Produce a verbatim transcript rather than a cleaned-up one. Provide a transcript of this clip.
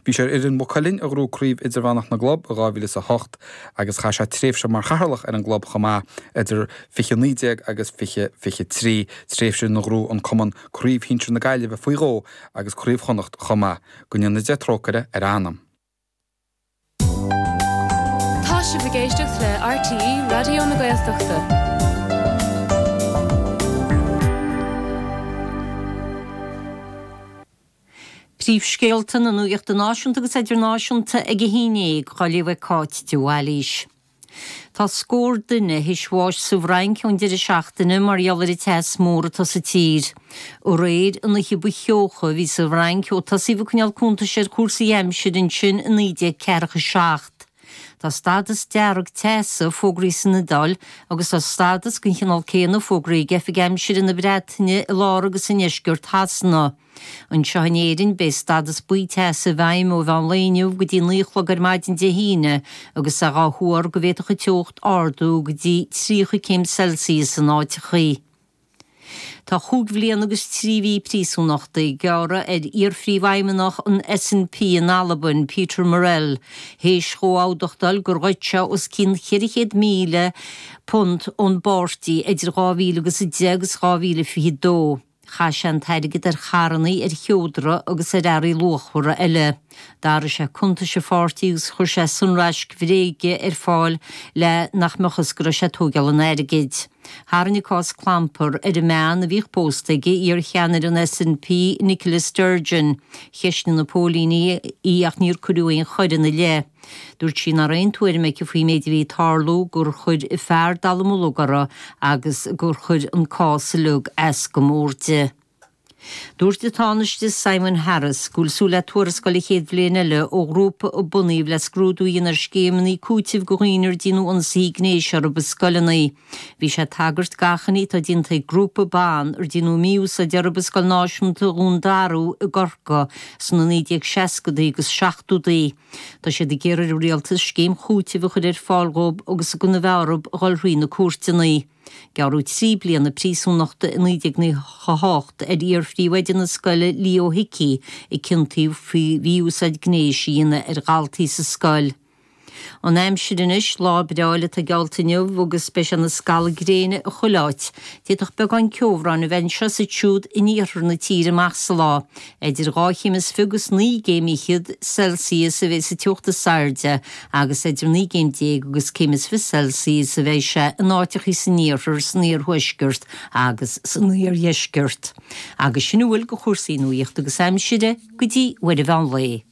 Bhí sé ar fhoireann Mhaigh Cuilinn a ghnóthaigh Craobh Idirmheánach na gClub i dhá mhíle is a hocht agus chaith sé tréimhse mar chathaoirleach ar an gclub chomh maith idir fiche naoi déag agus fiche fiche trí, tréimhse ina ghnóthaigh an cumann Craobh Shinsir na Gaillimhe faoi dhó agus Craobh Chonnacht chomh maith. Go ndéana Dia trócaire ar a anam. Tá sibh ag éisteacht le RTÉ Raidió na Gaeltachta. Príomhscéalta na nuachta náisiúnta agus idirnáisiúnta ag a haon déag, á léamh ag Cáit de Bhailís. Tá scór duine théis bháis sa bhFrainc ón deireadh seachtaine mar gheall ar an teas mór atá sa tír. Aréir an oíche ba theocha a bhí sa bhFrainc ó tosaíodh ag coinneáil cuntais ar chúrsaí aimsire ansin i naoi déag ceathracha seacht. Tá stádas dearg teasa fógraithe san Iodáil agus tá stádas den chineál céanna fógraithe ag Oifig Aimsire na Breataine i lár agus i ndeisceart Shasana. Anseo in Éirinn, beidh stádas buí teasa i bhfeidhm ó mheán lae inniu go dtí naoi a chlog ar maidin Dé hAoine agus é dhá thuar go bhféadfadh an teocht ardú go dtí tríocha céim Celsius in áiteachaí. Tá chúig bhliain agus trí mhí príosúnachta gearrtha ar iar-phríomhfheidhmeannach an SNP in Albain, Peter Murrell, théis dhó admhachtáil gur ghoid sé os cionn cheithre chéad míle punt ón bpáirtí idir dhá mhíle agus a deich agus dhá mhíle fiche dó. Chaith sé an t-airgead ar charrannaí, ar sheodra agus ar earraí luachmhara eile. D'athraigh sé cuntais an pháirtí agus chuir sé sonraisc bhréige ar fáil le nach mbeadh fhios go raibh sé ag tóigeáil an airgid. Tharraing an cás clampar ar an mbean a bhíodh pósta aige, iar-cheannaire an SNP, Nicola Sturgeon. Cheistigh na póilíní í ach níor cuireadh aon choir ina leith. Dúirt sí nach raibh aon tuairim aici faoin méid a bhí ag tarlú, gur chuir a fear dallamullóg uirthi agus gur chuir an cás uilig as go mór di. Dúirt an Tánaiste Simon Harris go bhfuil súil le tuarascáil an chéad bhliain eile ó ghrúpa a bunaíodh le scrúdú a dhéanamh ar scéimeanna cúitimh do dhaoine ar déanadh ionsaithe gnéis orthu i scoileanna. Bhí sé ag tagairt d'achainí atá déanta ag grúpa ban ar déanadh mí-úsáid orthu i Scoil Náisiúnta Dhún Darú i gCorcaigh sna naoi déag seascadaí agus seachtódaí. Tá siad ag iarraidh ar an rialtas scéim chúitimh a chur ar fáil dhóibh agus gan a bheith orthu a dhul thrí na cúirteanna. Gearradh trí bliana príosúnachta i naoi déag nócha a hocht ar iar-phríomhoide na scoile Leo Hickey a ciontaíodh faoi mhí-úsáid gnéis a dhéanamh ar dhaltaí sa scoil. An aimsir anois, lá breá eile atá geallta inniu agus beidh sé ina scalladh gréine i chuile áit. D'fhéadfadh beagán ceobhráin a bheith anseo is ansiúd in iarthar na tíre amach sa lá. Idir dhá chéim is fiche agus naoi gcéim fhichead Celsius a bheidh sa teocht is airde agus idir naoi gcéim déag agus céim is fiche Celsius a bheidh sé in áiteachaí san iarthar, san iarthuaisceart agus san iardheisceart. Agus sin a bhfuil de chúrsaí nuachta agus aimsire go dtí uair an mheán lae.